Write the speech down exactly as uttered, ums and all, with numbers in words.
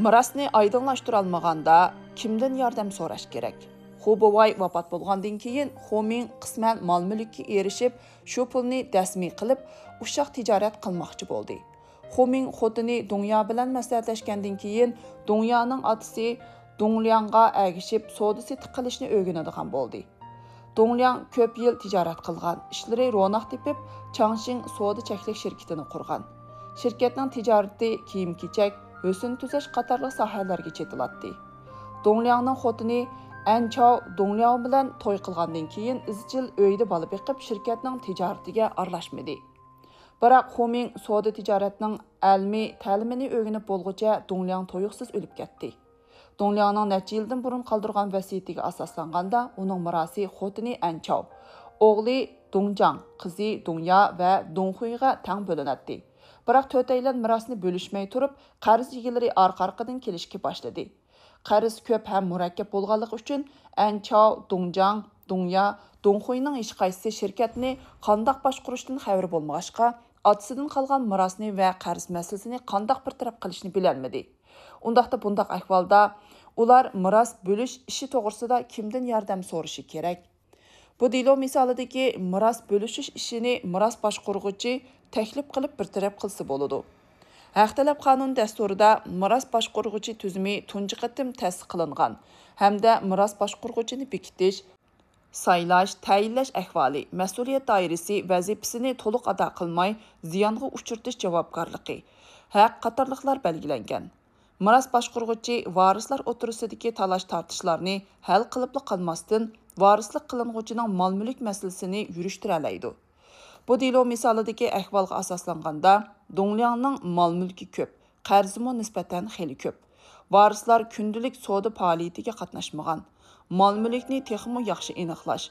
مىراسنى ئايدىڭلاشتۇرالمىغاندا، كىمدىن ياردەم سوراش كېرەك؟ خۇ بوۋاي ۋاپات بولغاندىن كېيىن، خۇ مىڭ قىسمەن مال-مۈلۈككە ئېرىشىپ، شۇ پۇلنى دەسمى قىلىپ، ئۇششاق تىجارەت قىلماقچى بولدى. خۇ مىڭ خوتۇنى دۇڭيا بىلەن مەسلىھەتلەشكەندىن كېيىن، دۇڭيانىڭ ئاتىسى دۇڭلياڭغا ئەگىشىپ، سودا-سېتىق قىلىشنى ئۆگىنىدىغان بولدى. دۇڭلياڭ كۆپ يىل تىجارەت قىلغان، ئىشلىرى روناق تېپىپ، چاڭشىڭ سودا چەكلىك شىركىتىنى قۇرغان. شىركەتنىڭ تىجارىتى كىيىم-كېچەك، ھۆسن تۈزەش قاتارلىق ساھەلەرگە چېتىلاتتى. دۇڭلياڭنىڭ خوتۇنى ئەن چاۋ دۇڭلياۋ بىلەن توي قىلغاندىن كېيىن، ئىزچىل ئۆيدە بالا بېقىپ، شىركەتنىڭ تىجارىتىگە ئارىلاشمىدى. بىراق خۇ مىڭ سودا تىجارەتنىڭ ئەلمىي تەلىمىنى ئۆگىنىپ بولغۇچە، دۇڭلياڭ تۇيۇقسىز ئۆلۈپ كەتتى. دۇڭلياڭنىڭ نەچچە يىلدىن بۇرۇن قالدۇرغان ۋەسىيىتىگە ئاساسلانغاندا، ئۇنىڭ مىراسى خوتۇنى ئەن چاۋ، ئوغلى دۇڭجاڭ، قىزى دۇڭيا ۋە دۇڭخۇيغا تەڭ بۆلۈنەتتى. بىراق تۆتەيلەن مىراسنى بۆلۈشمەي تۇرۇپ، قەرز ئىگىلىرى ئارقا-ئارقىدىن كېلىشكە باشلىدى. قەرز كۆپ ھەم مۇرەككەپ بولغانلىقى ئۈچۈن، ئەن چاۋ، دۇڭجاڭ، دۇڭيا، دۇڭخۇينىڭ ھېچقايسىسى شىركەتنى قانداق باشقۇرۇشتىن خەۋىرى بولمىغاچقا، ئاتىسىدىن قالغان مىراسنى ۋە قەرز مەسىلىسىنى قانداق بىر تەرەپ قىلىشنى بىلەلمىدى. ئۇنداقتا بۇنداق ئەھۋالدا ئۇلار مىراس بۆلۈش ئىشى توغرىسىدا كىمدىن ياردەم سورىشى كېرەك؟ بۇ دېلو مىسالىدىكى مىراس بۆلۈشۈش ئىشىنى مىراس باشقۇرغۇچى تەكلىپ قىلىپ بىر تەرەپ قىلسا بولىدۇ. ھەق تەلەپ قانۇن دەستۇرىدا مىراس باشقۇرغۇچى تۈزۈمى تۇنجى قېتىم تەسىس قىلىنغان ھەمدە مىراس باشقۇرغۇچىنى بېكىتىش، سايلاش، تەيىنلەش ئەھۋالى، مەسئۇلىيەت دائىرىسى، ۋەزىپىسىنى تولۇق ئادا قىلماي زىيانغا ئۇچرىتىش جاۋابكارلىقى، ھەق قاتارلىقلار بەلگىلەنگەن. مىراس باشقۇرغۇچى ۋارىسلار ئوتتۇرىسىدىكى تالاش-تارتىشلارنى ھەل قىلىپلا قالماستىن، ۋارىسلىق قىلىنغۇچىنىڭ مال-مۈلۈك مەسىلىسىنى يۈرۈشتۈرەلەيدۇ. بۇ دېلو مىسالىدىكى ئەھۋالغا ئاساسلانغاندا، دۇڭلياڭنىڭ مال-مۈلكى كۆپ، قەرزىمۇ نىسبەتەن خېلى كۆپ. ۋارىسلار كۈندىلىك سودا پائالىيىتىگە قاتناشمىغان. مال-مۈلۈكنى تېخىمۇ ياخشى ئېنىقلاش،